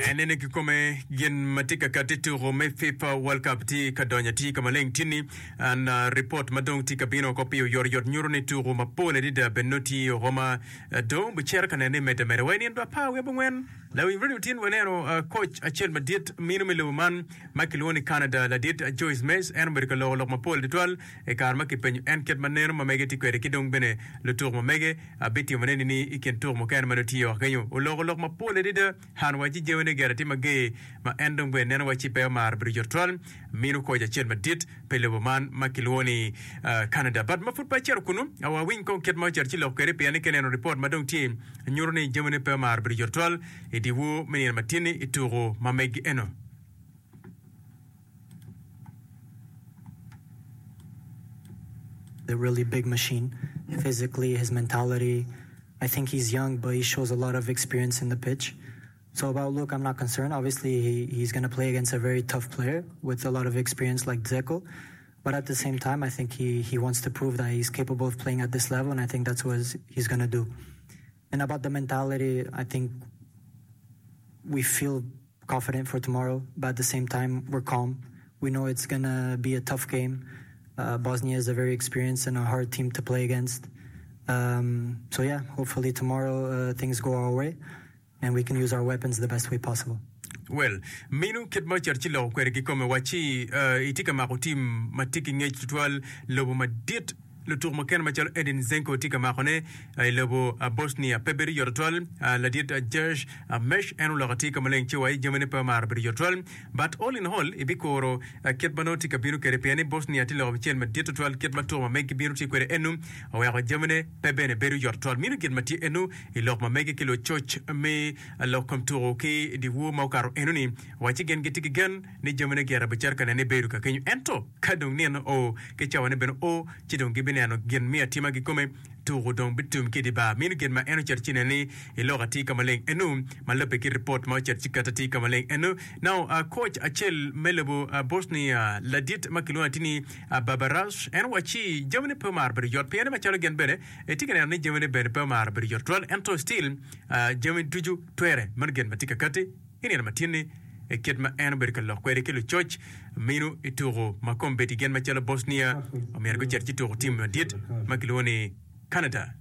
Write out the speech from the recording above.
Enene kikome gin ma tye ka kati tuko me FIFA World Cup tye ka donyo atir ka maleng tye-ni. An ripot ma dong tye ka bino oko pi oyotoyot nyuto ni tuko mapol adada bene nongo tye oko ma dong bicito ka nene medde ameda wa i nino apar wiye abongwen. Lawiny radio tin waneno koc acel madit mino me lobo man ma kilwongo ni Canada ladit Joyce Mez en obedo ka loko lok mapol tutwal i kare ma kipenyo en kit ma neno ma mege tye kwede ki dong bene lutuko ma mege bitimone nini i kin tuko mukene ma nongo tye oko kenyo. Oloko lok mapol adada han wacci jamine gire tye mager ma en dong bene neno wacci pe omaro bedo yot tutwal mino koc acel madit pi lobo man ma kilwongo ni Canada. But ma pud pe acito kunu wawiny kong kit ma ocito ci lok kwede pien ni ka ineno ripot ma dong tye nyuto ni jamine pe omaro bedo yot tutwal i dyewor me nino matin-ni i tuko ma megi eno. A really big machine physically his mentality I think he's young but he shows a lot of experience in the pitch so about Luke I'm not concerned obviously he he's gonna play against a very tough player with a lot of experience like Dzeko but at the same time I think he he wants to prove that he's capable of playing at this level and I think that's what he's gonna do and about the mentality I think we feel confident for tomorrow but at the same time we're calm we know it's gonna be a tough game uh, Bosnia is a very experienced and a hard team to play against um, so yeah hopefully tomorrow uh, things go our way and we can use our weapons the best way possible. Well, minu kit ma ocito ci loko kwede kikome wacci uh, itye ka mako tim ma tye ki ngec tutwal lobo madit Lutuku mukene macalo Edin Zenko tye ka makone i lobo Bosnia pe bedo yot tutwal. Ladit Jersh Mesh en oloko atir ka maleng ci wa i jamine pe omaro bedo yot tutwal. But all in all ibikuro kit ma nongo tye ka bino kwede pien ni Bosnia tye loko acel madit tutwal kit ma tuko ma megi bino tye kwede enu oweko jamine pe bene bedo yot tutwal. Mino gin ma tye enu i lok ma mege ki lucoc me lok kom tuko ki dyewor ma okato enu ni wacci gin gitye ki gen ni jamine gire bicito ka nene ibedo ka kenyo. Ento ka dong nino oo, ki cawane bene oo, ci dong gibineno gin me atima kikome, tuko dong bitum ki i dye bar. Meno gin ma en ocito ci neno ni iloko atir ka maleng eno, ma lubbe ki ripot ma ocito ci keto atir ka maleng eno. Now, koc acel me lobo Bosnia, ladit ma kilwongo atir ni Barbarash, en owacci jamine pe omaro bedo yot pien macalo gin bene etye ka neno ni jamine bene pe omaro bedo yot tutwal, ento still jami ducu twere. Meno gin ma tye ka kati. I nino ma tin-ni, i kit ma en obedo ka lok kwede ki lucoc mino i tuko ma kombeddi gin macalo Bosnia omyero gucit ci tuko tim madit ma kilwongo ni Canada.